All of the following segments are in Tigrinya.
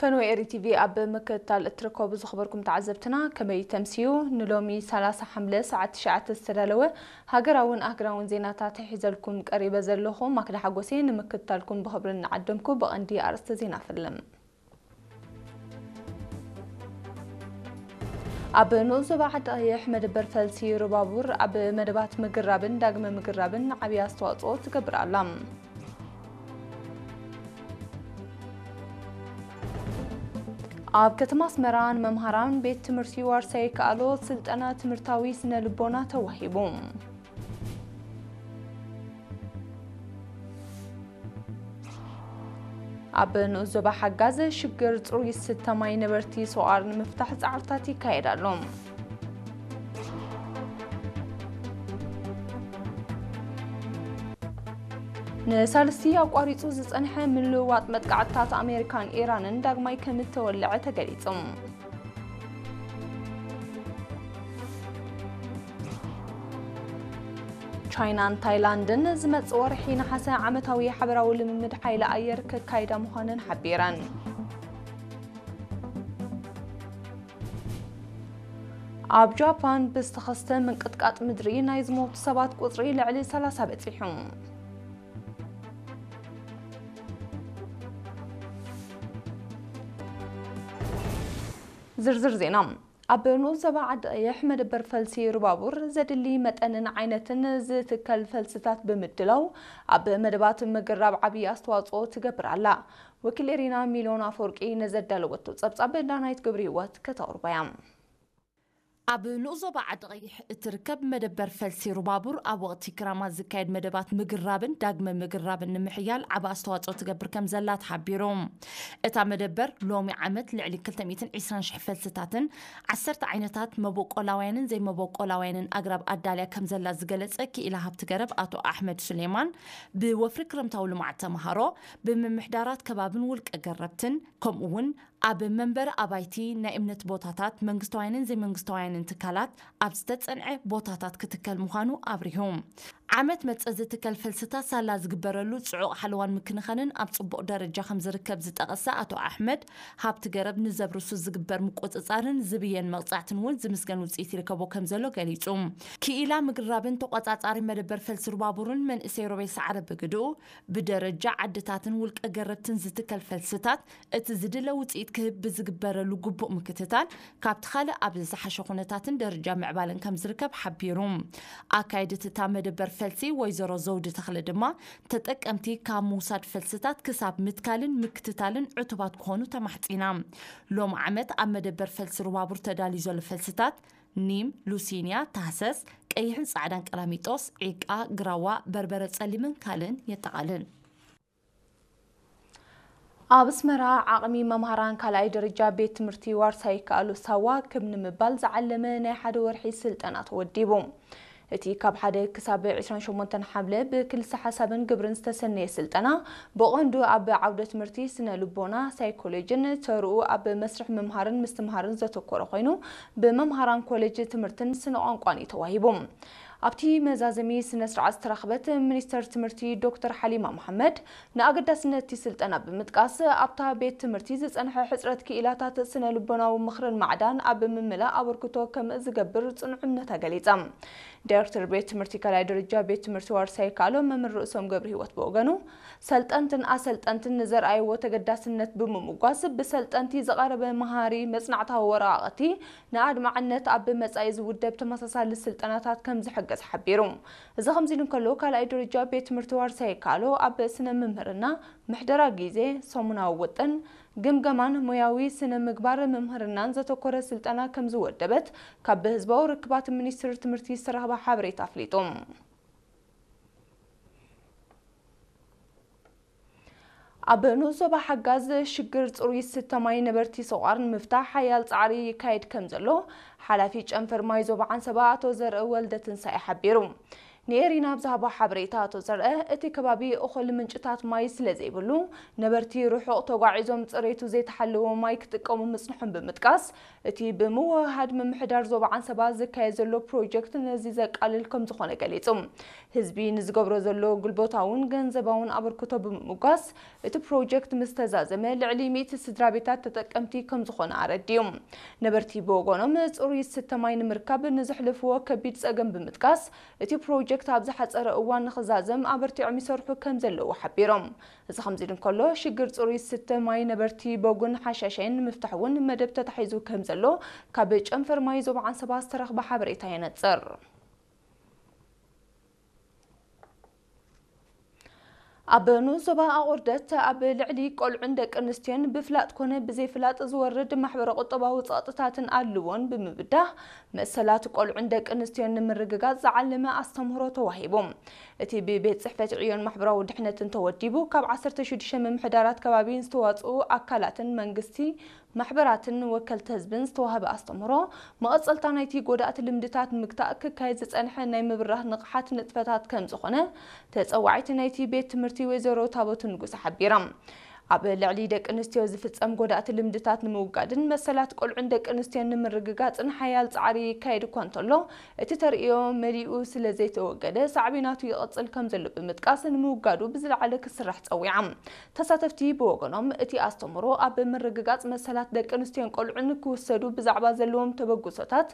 ፈነወ ኤሪ ቲቪ ኣብ ምክትታል እትርከቡ ዝኽበርኩም ተዓዘብትና፣ ከመይ ተምስዩ? ንሎሚ ሰላሳ ሓምለ ሰዓት ትሽዓተ ዝተዳለወ ሃገራውን ኣህግራውን ዜናታት ሒዘልኩም ቀሪበ ዘለኹ ማክዳ ሓጎሴ። ንምክትታልኩም ብኽብሪ እናዓደምኩ፣ ብቐንዲ ኣርእስተ ዜና ፈልም። ኣብ ንኡስ ዞባ ዓዲ ቀይሕ መደበር ፈልሲ ሩባቡር ኣብ መደባት ምግራብን ዳግመ ምግራብን ዓብዪ ኣስተዋፅኦ ትገብር ኣላ። ኣብ ከተማ ኣስመራ ንመምሃራን ቤት ትምህርቲ ዋርሳይ ይከኣሎ ስልጠና ትምህርታዊ ስነ ልቦና ተዋሂቡ። ኣብ ንኡስ ዞባ ሓጋዝ ሽግር ጽሩይ ዝስተ ማይ ነበርቲ ሶቓር ንምፍታሕ ጻዕርታት ይካየድ ኣሎ። ንሳልስቲ ኣቋሪጹ ዝጸንሐ ምልውዋጥ መጥቃዕትታት ኣሜሪካን ኢራንን ዳግማይ ከም እተወልዐ ተገሊጹ። ቻይናን ታይላንድን ዝመጽእ ወርሒ ነሓሰ ዓመታዊ ሓበራዊ ልምምድ ሓይሊ ኣየር ከካይዳ ምዃነን ሓቢረን። ኣብ ጃፓን ብዝተኸስተ ምንቅጥቃጥ ምድሪ ናይ ዝሞቱ ሰባት ቁጽሪ ልዕሊ ሰላሳ በጺሑ። ዝርዝር ዜና። ኣብ ንኡስ ዞባ ዓዲ ቀይሕ መደበር ፈልሲ ሩባቡር ዘድሊ መጠንን ዓይነትን ዝትከል ፈልስታት ብምድላው ኣብ መደባት ምግራብ ዓብዪ ኣስተዋፅኦ ትገብር ኣላ። ወኪል ኤሪና ሚልዮን ኣፈወርቂ ነዘዳለወቶ ጸብጻብ ዳናይት ግብሪ ህይወት ከተቕርቦ እያ። ኣብ ንኡስ ዞባ ዓዲ ቀይሕ እትርከብ መደበር ፈልሲ ሩባቡር ኣብ ወቕቲ ክራማት ዝካየድ መደባት ምግራብን ዳግመ ምግራብን ንምሕያል ዓቢ ኣስተዋፅኦ ትገብር ከም ዘላ ተሓቢሩ። እታ መደበር ሎሚ ዓመት ልዕሊ ክልተ ሚእትን ዕስራን ሽሕ ፈልስታትን ዓሰርተ ዓይነታት መበቆላውያንን ዘይመበቆላውያንን ኣግራብ ኣዳልያ ከም ዘላ ዝገለጸ ክኢላ ሃብቲ ገረብ ኣቶ ኣሕመድ ሱሌማን፣ ብወፍሪ ክረምታዊ ልምዓት ተምሃሮ፣ ብምምሕዳራት ከባብን ውልቀ ገረብትን፣ ከምኡ እውን ኣብ መንበሪ ኣባይቲ፣ ናይ እምነት ቦታታት፣ መንግስታውያንን ዘይመንግስታውያንን ትካላት ኣብ ዝተጸንዐ ቦታታት ክትከል ምዃኑ ኣብሪሁ። ዓመት መጸ ዝትከል ፈልስታት ሳላ ዝግበረሉ ጽዑቕ ሓለዋን ምክንኻንን ኣብ ጽቡቕ ደረጃ ከም ዝርከብ ዝጠቐሰ ኣቶ ኣሕመድ፣ ሃብቲ ገረብ ንዘብርሱ ዝግበር ምቁጽጻርን ዝብየን መቕጻዕትን እውን ዝምስገን ውጽኢት ይርከቦ ከም ዘሎ ገሊጹ። ክኢላ ምግራብን ተቖጻጻሪ መደበር ፈልሲ ሩባቡርን መንእሰይ ሮቤል ሰዓረ ብግድኡ፣ ብደረጃ ዓድታትን ውልቀ ገረብትን ዝትከል ፈልስታት እቲ ዝድለ ውጽኢት ክህብ ብዝግበረሉ ግቡእ ምክትታል፣ ካብቲ ካልእ ኣብ ዝሓሸ ኩነታትን ደረጃ ምዕባለን ከም ዝርከብ ሓቢሩ። ኣካይድት እታ መደበር ፈልሲ ወይዘሮ ዘውዲ ተኽለ ድማ፣ ተጠቀምቲ ካብ ምውሳድ ፈልስታት ክሳብ ምትካልን ምክትታልን ዕቱባት ክኾኑ ተማሕጺና። ሎም ዓመት ኣብ መደበር ፈልሲ ሩባቡር ተዳልዩ ዘሎ ፈልስታት ኒም፣ ሉሲንያ፣ ታህሰስ፣ ቀይሕን ጻዕዳን ቀላሚጦስ፣ ዒቃ፣ ግራዋ፣ በርበረ ጸሊምን ካልእን የጠቓልል። ኣብ ኣስመራ ዓቕሚ መምሃራን ካልኣይ ደረጃ ቤት ትምህርቲ ዋርሳይ ይከኣሉ ሳዋ ክብ ንምባል ዝዓለመ ናይ ሓደ ወርሒ ስልጠና ተወዲቡ። እቲ ካብ ሓደ ክሳብ ዕስራን ሸሞንተን ሓምለ ብክልሰ ሓሳብን ግብርን ዝተሰነየ ስልጠና ብቐንዱ ኣብ ዓውደ ትምህርቲ ስነ ልቦና፣ ሳይኮሎጂን ተርኡ ኣብ መስርሕ ምምሃርን ምስትምሃርን ዘተኮረ ኮይኑ፣ ብመምሃራን ኮሌጅ ትምህርትን ስነ ቋንቋን እዩ ተዋሂቡ። ኣብቲ መዛዘሚ ስነ ስርዓት ዝተረኽበት ሚኒስተር ትምህርቲ ዶክተር ሓሊማ መሓመድ ንኣገዳስነት እቲ ስልጠና ብምጥቃስ፣ ኣብታ ቤት ትምህርቲ ዝጸንሐ ሕጽረት ክኢላታት ስነ ልቦናዊ ምኽርን ማዕዳን ኣብ ምምላእ ኣበርክቶ ከም ዝገብር ጽኑዕ እምነታ ገሊጻ። ዳይሬክተር ቤት ትምህርቲ ካልኣይ ደረጃ ቤት ትምህርቲ ዋርሳይ ካሎ መምህር ርእሶም ገብረ ህይወት ብወገኑ፣ ሰልጠንትን ኣሰልጠንትን ንዘርኣይዎ ተገዳስነት ብምምጓስ፣ ብሰልጠንቲ ዝቐረበ መሃሪ መጽናዕታዊ ወረቓቕቲ ንኣድማዕነት ኣብ መጻኢ ዝውደብ ተመሳሳሊ ስልጠናታት ከም ዝሕገዝ ሓቢሩ። እዚ ከምዚ ኢሉ እንከሎ፣ ካልኣይ ደረጃ ቤት ትምህርቲ ዋርሳይ ካሎ ኣብ ስነ ምምህርና፣ ምሕደራ ግዜ፣ ሰሙናዊ ውጥን፣ ግምገማን ሞያዊ ስነ ምግባር ምምህርናን ዘተኮረ ስልጠና ከም ዝወደበት ካብ ህዝባዊ ርክባት ሚኒስትሪ ትምህርቲ ዝተረኽበ ሓበሬታ ኣፍሊጡ። ኣብ ንኡስ ዞባ ሓጋዝ ሽግር ጽሩይ ዝስተ ማይ ነበርቲ ሰቋር ንምፍታሕ ሓያል ጻዕሪ ይካየድ ከም ዘሎ ሓላፊ ጨንፈር ማይ ዞባ ዓንሰባ ኣቶ ዘርእ ወልደ ትንሳኤ ሓቢሩ። ንኤሪና ኣብ ዝሃቦ ሓበሬታ ኣቶ ዘርአ፣ እቲ ከባቢ እኹል ምንጭታት ማይ ስለ ዘይብሉ፣ ነበርቲ ርሑቕ ተጓዒዞም ጽሬቱ ዘይተሓለወ ማይ ክጥቀሙ ምጽንሖም ብምጥቃስ፣ እቲ ብምውህሃድ ምምሕዳር ዞባ ዓንሰባ ዝካየድ ዘሎ ፕሮጀክት ነዚ ዘቃልል ከም ዝኾነ ገሊጹ። ህዝቢ ንዝገብሮ ዘሎ ጉልበታውን ገንዘባውን ኣበርክቶ ብምምጓስ፣ እቲ ፕሮጀክት ምስ ተዛዘመ ልዕሊ ሚእቲ ስድራ ቤታት ተጠቀምቲ ከም ዝኾነ ኣረዲኡ። ነበርቲ ብወገኖም፣ ጽሩይ ዝስተ ማይ ንምርካብ ንዘሕልፍዎ ከቢድ ጸገም ብምጥቃስ፣ እቲ ፕሮጀክት ኣብ ዝሓጸረ እዋን ንኽዛዘም ኣበርቲዖም ይሰርሑ ከም ዘለዉ ሓቢሮም። እዚ ከምዚ ኢሉ እንከሎ፣ ሽግር ጽሩይ ዝስተ ማይ ነበርቲ ቦጉን ሓሻሻይን ንምፍታሕ እውን መደብ ተታሒዙ ከም ዘሎ ካብ ጨንፈር ማይ ዞባ ዓንሰባ ዝተረኽበ ሓበሬታ የነጽር። ኣብ ንኡስ ዞባ ኣቑርደት ኣብ ልዕሊ ቆልዑን ደቂ ኣንስትዮን ብፍላጥ ኮነ ብዘይፍላጥ ዝወርድ ማሕበረ ቁጠባዊ ጸቕጥታትን ኣድልዎን ብምብዳህ፣ መሰላት ቆልዑን ደቂ ኣንስትዮን ንምርግጋጽ ዝዓለመ ኣስተምህሮ ተዋሂቡ። እቲ ብቤት ጽሕፈት ዕዮን ማሕበራዊ ድሕነትን ተወዲቡ፣ ካብ ዓሰርተ ሽዱሽተ ምምሕዳራት ከባቢን ዝተዋጽኡ ኣካላትን መንግስቲ ማሕበራትን ወከልቲ ህዝብን ዝተዋህበ ኣስተምህሮ፣ መቐጸልታ ናይቲ ጎዳእቲ ልምድታት ንምግታእ ክካየድ ዝጸንሐ ናይ ምብራህ ንቕሓት ንጥፈታት ከም ዝኾነ ተጸዋዒት ናይቲ ቤት ትምህርቲ ወይዘሮ ታቦት ንጉስ ሓቢራ። ኣብ ልዕሊ ደቂ ኣንስትዮ ዝፍጸም ጎዳእቲ ልምድታት ንምውጋድን መሰላት ቆልዑን ደቂ ኣንስትዮን ንምርግጋጽን ሓያል ጻዕሪ ይካየድ እኳ እንተሎ፣ እቲ ተርእዮ መሊኡ ስለ ዘይተወገደ፣ ሳዕቤናቱ ይቕጽል ከም ዘሎ ብምጥቃስ፣ ንምውጋዱ ብዝለዓለ ክስራሕ ጸዊዓ። ተሳተፍቲ ብወገኖም፣ እቲ ኣስተምህሮ ኣብ ምርግጋጽ መሰላት ደቂ ኣንስትዮን ቆልዑን ክውሰዱ ብዛዕባ ዘለዎም ተበግሶታት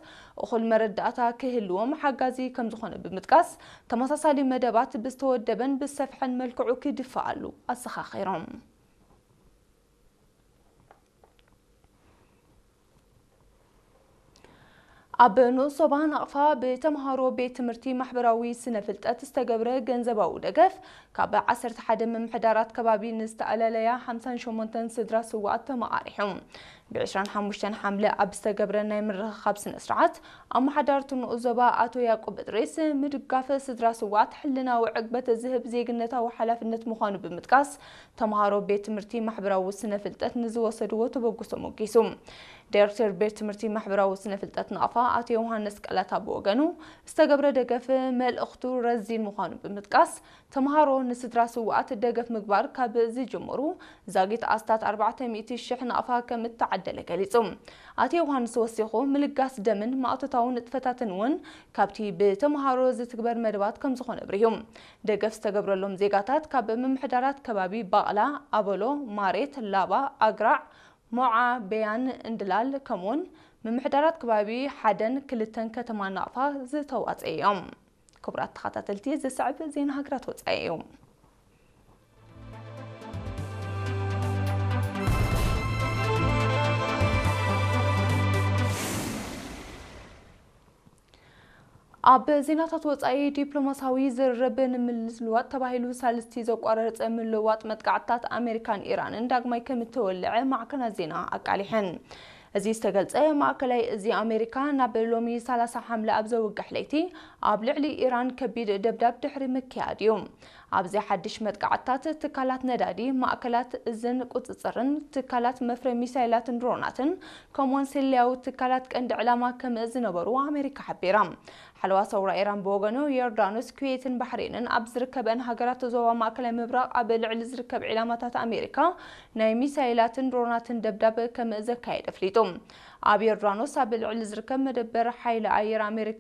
እኹል መረዳእታ ክህልዎም ሓጋዚ ከም ዝኾነ ብምጥቃስ፣ ተመሳሳሊ መደባት ብዝተወደበን ብዝሰፍሐን መልክዑ ክድፈኣሉ ኣዘኻኺሮም። ኣብ ንኡስ ዞባ ናቕፋ ብተምሃሮ ቤት ትምህርቲ ማሕበራዊ ስነ ፍልጠት ዝተገብረ ገንዘባዊ ደገፍ፣ ካብ ዓሰርተ ሓደ ምምሕዳራት ከባቢ ንዝተኣለለያ ሓምሳን ሸሞንተን ስድራ ስውኣት ተመቓሪሑ። ብ ዕስራን ሓሙሽተን ሓምለ ኣብ ዝተገብረ ናይ ምርኽኻብ ስነ ስርዓት፣ ኣመሓዳሪ እቲ ንኡስ ዞባ ኣቶ ያዕቆብ እድሪስ፣ ምድጋፍ ስድራ ስውኣት ሕልናዊ ዕግበት ዝህብ ዜግነታዊ ሓላፍነት ምዃኑ ብምጥቃስ፣ ተምሃሮ ቤት ትምህርቲ ማሕበራዊ ስነ ፍልጠት ንዝወሰድዎ ተበግሶ ሞጊሱ። ዳይሬክተር ቤት ትምህርቲ ማሕበራዊ ስነ ፍልጠት ናቕፋ ኣቶ ዮሃንስ ቀላታ ብወገኑ፣ ዝተገብረ ደገፍ መልእኽቱ ረዚን ምዃኑ ብምጥቃስ፣ ተምሃሮ ንስድራ ስውኣት ደገፍ ምግባር ካብ ዝጅምሩ ዛጊት ኣስታት ኣርባዕተ ሚእቲ ሽሕ ናቕፋ ከም እተዓደለ ገሊጹ። ኣቶ ዮሃንስ ወሲኹ፣ ምልጋስ ደምን ማእቶታዊ ንጥፈታትን እውን ካብቲ ብተምሃሮ ዝትግበር መደባት ከም ዝኾነ ኣብሪሁ። ደገፍ ዝተገብረሎም ዜጋታት ካብ ምምሕዳራት ከባቢ ባቕላ፣ ኣበሎ፣ ማሬት፣ ላባ፣ ኣግራዕ፣ ሞዓ፣ በያን፣ እንድላል፣ ከምኡውን ምምሕዳራት ከባቢ ሓደን ክልተን ከተማ ናቕፋ ዝተዋጸዩ እዮም። ክቡራት ተኸታተልቲ፣ ዝስዕብ ዜና ሃገራት ወጻኢ እዩ። ኣብ ዜናታት ወጻኢ፣ ዲፕሎማሲያዊ ዝርርብ ንምልዋጥ ተባሂሉ ሳልስቲ ዘቋረጸ ምልዋጥ መጥቃዕትታት ኣሜሪካን ኢራንን ዳግማይ ከም እተወልዐ ማዕከናት ዜና ኣቃሊሐን። እዚ ዝተገልጸ፣ ማእከላይ እዚ ኣሜሪካ ናብ ሎሚ ሰላሳ ሓምለ ኣብ ዘውግሕ ለይቲ ኣብ ልዕሊ ኢራን ከቢድ ደብዳብ ድሕሪ ምክያድ እዩ። ኣብዚ ሓድሽ መጥቃዕትታት፣ ትካላት ነዳዲ፣ ማእከላት እዝን ቁጽጽርን፣ ትካላት መፍረ ሚሳይላትን ድሮናትን፣ ከምኡውን ስለያዊ ትካላት ቀንዲ ዕላማ ከም ዝነበሩ ኣሜሪካ ሓቢራ። ሓለዋ ሰውራ ኢራን ብወገኑ፣ ዮርዳኖስ፣ ኩዌትን ባሕሬንን ኣብ ዝርከበን ሃገራት ዞባ ማእከላይ ምብራቕ ኣብ ልዕሊ ዝርከብ ዒላማታት ኣሜሪካ ናይ ሚሳይላትን ድሮናትን ደብዳብ ከም ዘካየደ ኣፍሊጡ። ኣብ ዮርዳኖስ ኣብ ልዕሊ ዝርከብ መደበር ሓይሊ ኣየር ኣሜሪካ